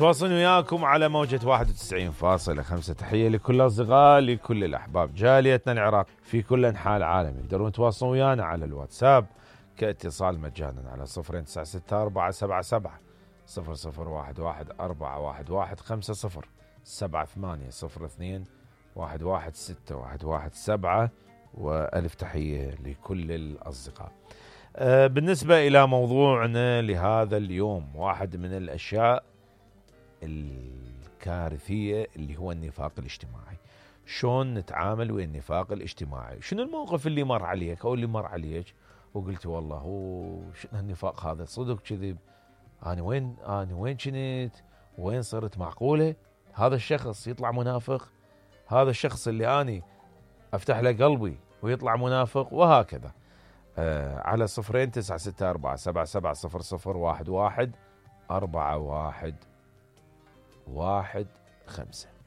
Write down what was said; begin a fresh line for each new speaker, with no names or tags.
متواصلين وياكم على موجة 91.5. تحية لكل الأصدقاء، لكل الأحباب، جاليتنا العراق في كل أنحاء العالم. يقدرون يتواصلون ويانا على الواتساب كاتصال مجانا على 0964770011 7802116117. وألف تحية لكل الأصدقاء. بالنسبة إلى موضوعنا لهذا اليوم، واحد من الأشياء الكارثية اللي هو النفاق الاجتماعي. شلون نتعامل ويا النفاق الاجتماعي؟ شنو الموقف اللي مر عليك أو اللي مر عليك وقلت والله شنو النفاق هذا، صدق كذب، أنا وين كنت، وين صرت، معقولة هذا الشخص يطلع منافق، هذا الشخص اللي أنا أفتح له قلبي ويطلع منافق، وهكذا. على 0964770011 4115.